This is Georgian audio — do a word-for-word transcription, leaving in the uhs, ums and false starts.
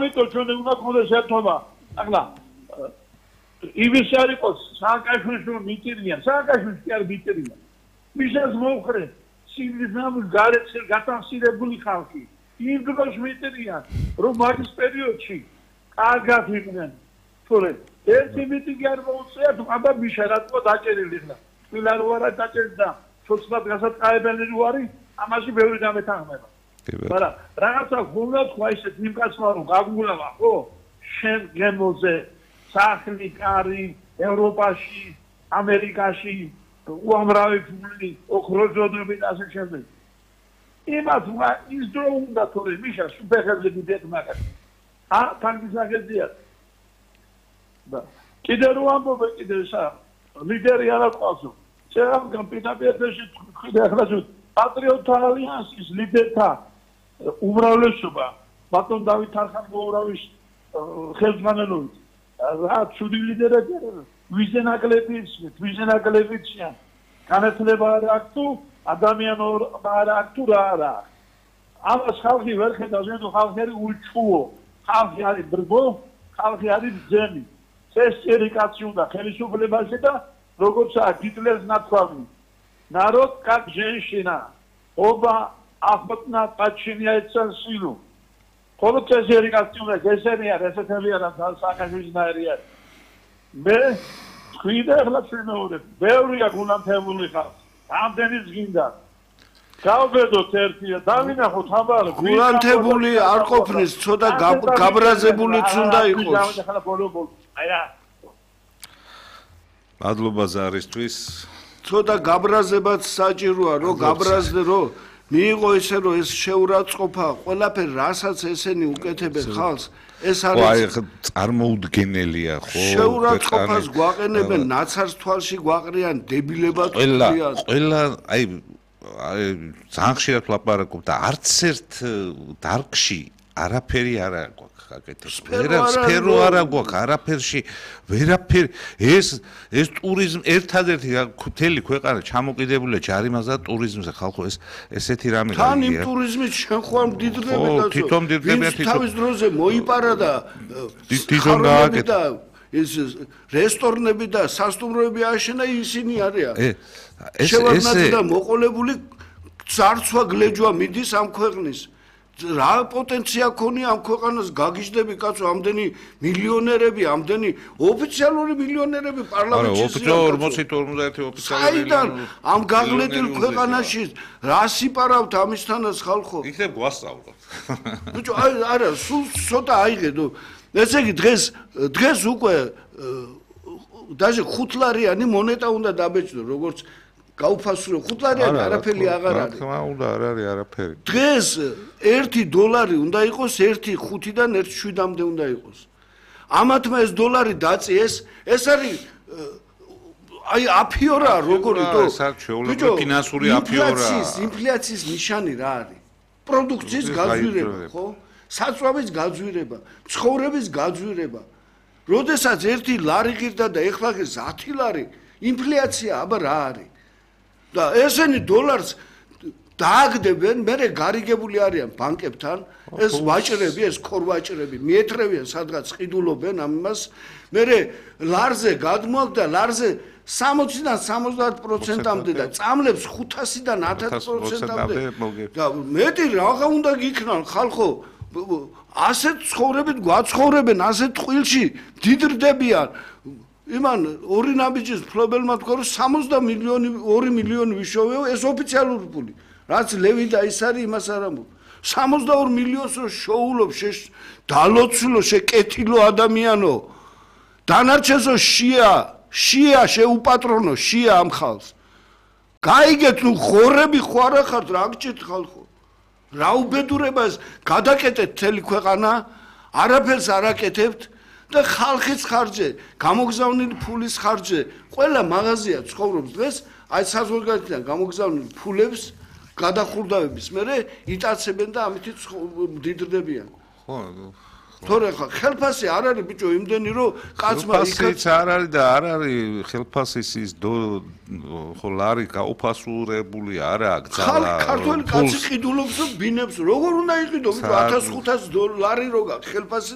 ამიტომ ჩვენ უნდა გქონდეს ერთობა. ახლა იმის არ იყოს სააკაშვილის მიტირია, სააკაშვილის კი არ მიტირია. მისას მოხრე სივრიზამის გარეცხელ გატანსირებული ხალხი. იმ დროს მიტირიან, რომ მაგის პერიოდში კარგად იყვნენ. თორე ერთი მიტინგი არ მოუწია, აბა მიშა რატო დაჭერილი ხარ. თვილა რო არა დაჭერდა, ცოცხლად გასატყაებელი რო არის, ამაში ბევრი დამეთანხმება. მაგრამ რაღაცა გულდა თქვა ისეთ იმკაცმა რომ გაგულავა, ხო? შენ გემოზე სახლი, კარი, ევროპაში, ამერიკაში, უამრავი ფული, ოქროძოდები და ასე შემდეგ. იმათ ის დრო უნდა თორე მიშა სუპერხებზე დიდეთ მაგას. ა თანგისაგებია. და კიდე რო ამბობ კიდე სა ლიდერი არა ყავსო. შეიძლება პიტაპიეთში ხიდე ახლა პატრიოტთა ალიანსის ლიდერთა უმრავლესობა ბატონ დავით არხანგოურავის ხელმძღვანელობით რა ცუდი ლიდერები ვიზე ნაკლები ისმით ვიზე ნაკლები იციან განათლება არ აქვს თუ ადამიანობა არ აქვს თუ რა არა ამას ხალხი ვერ ხედავს ნუ ხალხი არის უჩხუო ხალხი არის ბრბო ხალხი არის ძემი წესწერი კაცი უნდა ხელისუფლებაში და როგორცაა ჰიტლერს ნათქვამი народ как женщина оба охотно подчиняются силу ხოლო წესწერი კაცი უნდა გესერია რესეთებია და სააკაშვილისნაირია მე თქვიდა ახლა ჩვენოურებ ბევრია გულანთებული ხალხი ამდენიც გინდა გავბედოთ ერთია დავინახოთ აბა გულანთებული არ ყოფნის ცოტა გაბრაზებულიც უნდა იყოს აია მადლობა ზარისთვის ცოტა გაბრაზებაც საჭიროა რომ გაბრაზდე რომ მიიღო ესე რომ ეს შეურაცხყოფა ყველაფერი რასაც ესენი უკეთებენ ხალხს ეს არის აი წარმოუდგენელია ხო შეურაცხყოფას გვაყენებენ ნაცარს თვალში გვაყრიან დებილებად ყველა ყველა აი ძალიან ხშირად ვლაპარაკობ და არც ერთ დარგში არაფერი არ აქვს აკეთებს. ვერაც სფერო არ აქვს არაფერში, ვერაფერი ეს ეს ტურიზმ ერთადერთი მთელი ქვეყანა ჩამოკიდებულია ჯარიმაზე და ტურიზმზე ხალხო ეს ესეთი რამე გაიგია. თან იმ ტურიზმით შენ ხო ამ დიდრები და თვითონ დიდრებია თვითონ თავის დროზე მოიპარა და თვითონ გააკეთა ეს რესტორნები და სასტუმროები აშენა ისინი არიან. ეს ეს და მოყოლებული ძარცვა გლეჯვა მიდის ამ ქვეყნის რა პოტენცია ქონია ამ ქვეყანას გაგიჟდები კაცო ამდენი მილიონერები ამდენი ოფიციალური მილიონერები პარლამენტში ორმოცი ორმოცდაერთი ოფიციალური საიდან ამ გაღლეტილ ქვეყანაში რა სიპარავთ ამისთანაც ხალხო იქნებ გვასწავლოთ ბიჭო არა სულ ცოტა აიღედო ესე იგი დღეს დღეს უკვე даже ხუთლარიანი მონეტა უნდა დაბეჭდო როგორც გაუფასურო ხუთლარიანი არაფერი აღარ არის. რა თქმა უნდა არ არის არაფერი. დღეს ერთი დოლარი უნდა იყოს ერთი ხუთიდან ერთი შვიდამდე უნდა იყოს. ამათმა ეს დოლარი დაწიეს, ეს არის აი აფიორა როგორი თო. ეს არის ჩვეულებრივი ფინანსური აფიორა. ინფლაციის ნიშანი რა არის? პროდუქციის გაძვირება, ხო? საწვავის გაძვირება, ცხოვრების გაძვირება. როდესაც ერთი ლარი ღირდა და ეხლა ღირს ათი ლარი, ინფლაცია აბა რა არის? და ესენი დოლარს დააგდებენ, მერე გარიგებული არიან ბანკებთან, ეს ვაჭრები, ეს ქორვაჭრები, მიეთრევიან სადღაც ყიდულობენ ამას, მერე ლარზე გადმოაქვს და ლარზე სამოციდან სამოცდაათ პროცენტამდე და წამლებს ხუთასიდან ათას პროცენტამდე და მეტი რაღა უნდა გიქნან ხალხო ასეთ ცხოვრებით გვაცხოვრებენ, ასეთ ტყილში დიდრდებიან იმან ორი ნაბიჯის ფლობელმა თქვა რომ სამოცდა მილიონი ორი მილიონი ვიშოვეო ეს ოფიციალური ფული რაც ლევი და ის არის იმას არ ამბობ სამოცდაორ მილიონს რო შოულობ დალოცულო შეკეთილო ადამიანო დანარჩენსო შია შია შეუპატრონო შია ამ ხალხს გაიგეთ ნუ ხორები ხო არა ხართ რა გჭირთ ხალხო რა უბედურებას გადაკეტეთ მთელი ქვეყანა არაფერს არ აკეთებთ და ხალხის ხარჯზე, გამოგზავნილი ფულის ხარჯზე, ყველა მაღაზია ცხოვრობს დღეს, აი საზღვარგარეთიდან გამოგზავნილი ფულებს გადახურდავების მერე იტაცებენ და ამით დიდრდებიან. ხო, თორე ხელფასი არ არის ბიჭო იმდენი რომ კაცმა ხელფასიც არ არის და არ არის ხელფასის ის ხო ლარი გაუფასურებული არა გზალა ქართული კაცი ყიდულობს ბინებს როგორ უნდა იყიდო ბიჭო ათას ხუთას ლარი როგა ხელფასი